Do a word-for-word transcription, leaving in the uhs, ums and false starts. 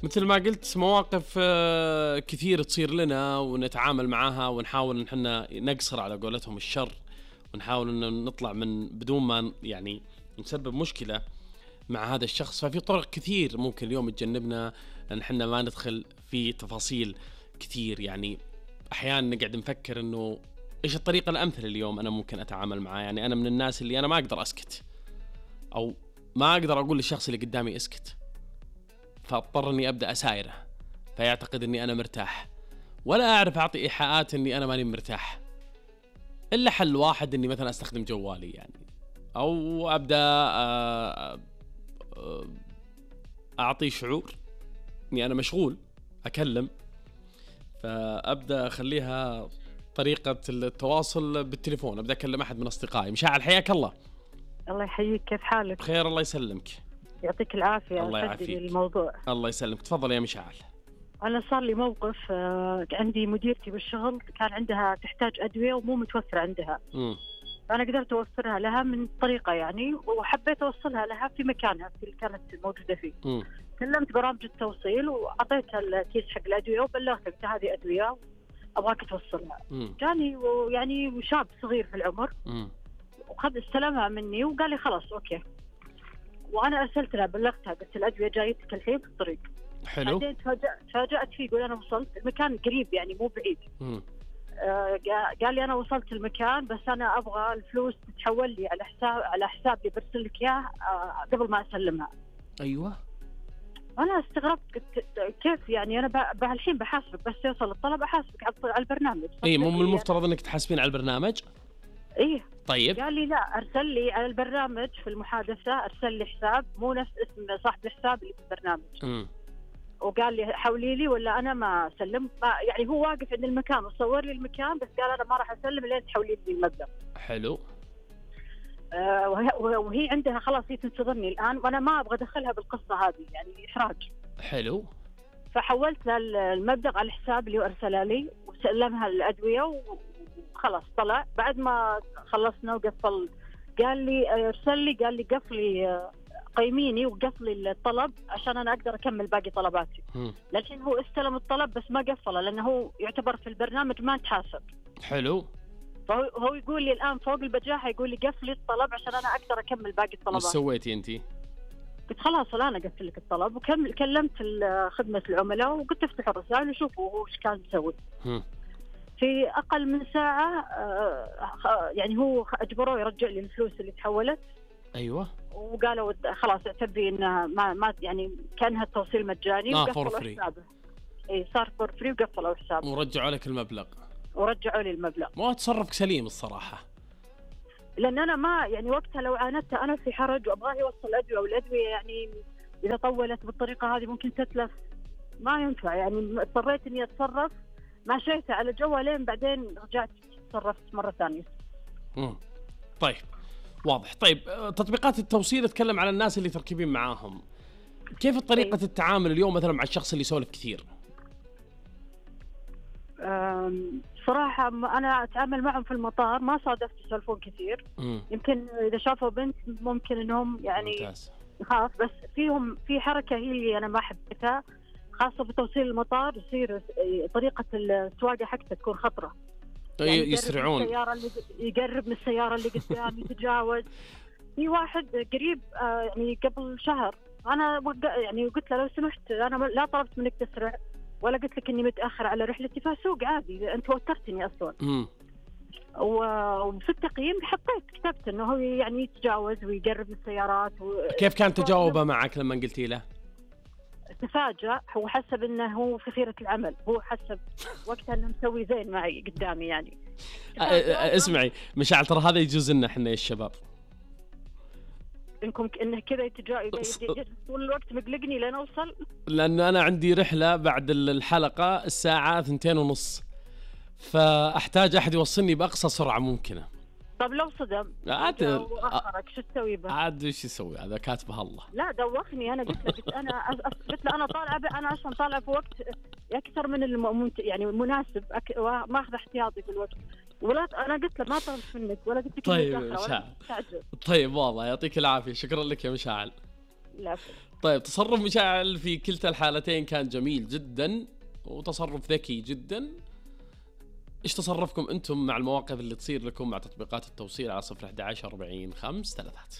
مثل ما قلت مواقف آه، كثير تصير لنا ونتعامل معها ونحاول إن إحنا نقصر على قولتهم الشر، ونحاول إن نطلع من بدون ما يعني نسبب مشكلة مع هذا الشخص. ففي طرق كثير ممكن اليوم تجنبنا أن إحنا ما ندخل في تفاصيل كثير. يعني أحيانا نقعد نفكر إنه إيش الطريقة الأمثل اليوم أنا ممكن أتعامل معاه. يعني أنا من الناس اللي أنا ما أقدر أسكت، أو ما أقدر أقول للشخص اللي قدامي اسكت، فاضطر إني أبدأ أسايره فيعتقد إني أنا مرتاح، ولا أعرف أعطي إيحاءات إني أنا ماني مرتاح. إلا حل واحد إني مثلا أستخدم جوالي يعني، أو أبدأ آه، آه، أعطي شعور إني أنا مشغول أكلم، فأبدأ أخليها طريقة التواصل بالتليفون. أبدأ أكلم أحد من أصدقائي. مشاعل حياك الله. الله يحييك، كيف حالك؟ بخير الله يسلمك. يعطيك العافية. الله يعافيك. الموضوع الله يسلمك، تفضل يا مشاعل. أنا صار لي موقف، عندي مديرتي بالشغل كان عندها تحتاج أدوية ومو متوفر عندها. م. فأنا قدرت أوفرها لها من طريقة يعني، وحبيت أوصلها لها في مكانها في اللي كانت موجودة فيه. م. كلمت برامج التوصيل وأعطيتها الكيس حق الأدوية وبلغتها قلت هذه أدوية أبغاك توصلها. م. جاني يعني شاب صغير في العمر م. وخذ استلمها مني وقال لي خلاص أوكي، وأنا أرسلت لها بلغتها قلت الأدوية جايتك الحين في الطريق. حلو. بعدين تفاجأت تفاجأت فيه، يقول أنا وصلت المكان قريب يعني مو بعيد. م. آه قال لي أنا وصلت المكان بس أنا أبغى الفلوس تتحول لي على حساب على حساب اللي برسل لك إياه آه قبل ما أسلمها. أيوة. أنا استغربت قلت كيف يعني أنا الحين بحاسبك بس يوصل الطلب أحاسبك على البرنامج. إيه مو من المفترض إنك تحاسبين على البرنامج؟ إيه. طيب. قال لي لا، أرسل لي على البرنامج في المحادثة أرسل لي حساب مو نفس اسم صاحب الحساب اللي في البرنامج. م. وقال لي حولي لي ولا أنا ما أسلم. يعني هو واقف عند المكان وصور لي المكان بس قال أنا ما راح أسلم لين تحولي لي المبلغ. حلو. آه وهي عندها خلاص هي تنتظرني الآن وأنا ما أبغى أدخلها بالقصة هذه يعني إحراج. حلو. فحولت لها المبلغ على الحساب اللي أرسلها لي وسلمها الأدوية وخلاص طلع. بعد ما خلصنا وقفل قال لي أرسل لي قال لي قفلي قيميني وقفلي الطلب عشان أنا أقدر أكمل باقي طلباتي. لكن هو استلم الطلب بس ما قفله لأنه هو يعتبر في البرنامج ما تحاسب. حلو. فهو يقول لي الآن فوق البجاحة يقول لي قفلي الطلب عشان أنا أقدر أكمل باقي الطلبات. وش سويتي أنتي؟ قلت خلاص أنا قفل لك الطلب وكمل. كلمت خدمة العملاء وقلت افتحوا الرسائل وشوفوا هو إيش كان يسوي. في أقل من ساعة يعني هو أجبروه يرجع لي الفلوس اللي تحولت. أيوة. وقالوا خلاص اعتبري إنه ما ما يعني كانها التوصيل مجاني. آه فور فري. إيه صار فور فري وقفلوا حسابه. ورجعوا لك المبلغ. ورجعوا لي المبلغ. ما تصرفك سليم الصراحة. لأن أنا ما يعني وقتها لو عاندت أنا في حرج وأبغاه يوصل أدوية والأدوية يعني إذا طولت بالطريقة هذه ممكن تتلف ما ينفع. يعني اضطريت إني أتصرف ما شيته على جوالين بعدين رجعت تصرفت مرة ثانية. مم. طيب واضح. طيب تطبيقات التوصيل اتكلم على الناس اللي تركبين معاهم. كيف طريقة التعامل اليوم مثلا مع الشخص اللي يسولف كثير؟ صراحة أنا أتعامل معهم في المطار ما صادفت يسولفون كثير. م. يمكن إذا شافوا بنت ممكن إنهم يعني يخاف. بس فيهم في حركة هي اللي أنا ما حبيتها خاصة بتوصيل المطار. يصير طريقة السواقة حقتها تكون خطرة. يعني يسرعون. السيارة اللي يقرب من السيارة اللي قدام يتجاوز. في واحد قريب يعني قبل شهر أنا يعني قلت له لو سمحت أنا لا طلبت منك تسرع ولا قلت لك إني متأخر على رحلتي فسوق عادي أنت وترتني أصلاً. امم وفي التقييم حطيت كتبت إنه هو يعني يتجاوز ويقرب من السيارات و... كيف كان تجاوبه معك لما قلتي له؟ تفاجأ. هو حسب إنه هو في خيرة العمل. هو حسب وقتها إنه مسوي زين معي قدامي يعني. اسمعي مشاعل ترى هذا يجوز لنا إحنا الشباب. إنكم إنه كذا يتجاوز طول الوقت مقلقني لين أوصل. لأنه أنا عندي رحلة بعد الحلقة الساعة ثنتين ونص فأحتاج أحد يوصلني بأقصى سرعة ممكنة. طب لو صدم عاد وأخرك شو تسوي به؟ عاد وش يسوي هذا كاتبه الله. لا دوخني. أنا قلت له قلت أنا قلت له أنا طالعة أنا أصلا طالعة في وقت أكثر من الم يعني مناسب أك... ما أخذ احتياطي في الوقت. ولا أنا قلت له ما طلبت منك ولا قلت لك طيب مشاعل. طيب والله يعطيك العافية. شكرا لك يا مشاعل. العفو. طيب تصرف مشاعل في كلتا الحالتين كان جميل جدا وتصرف ذكي جدا. ايش تصرفكم انتم مع المواقف اللي تصير لكم مع تطبيقات التوصيل على صفر أحد عشر أربعين خمس ثلاثات؟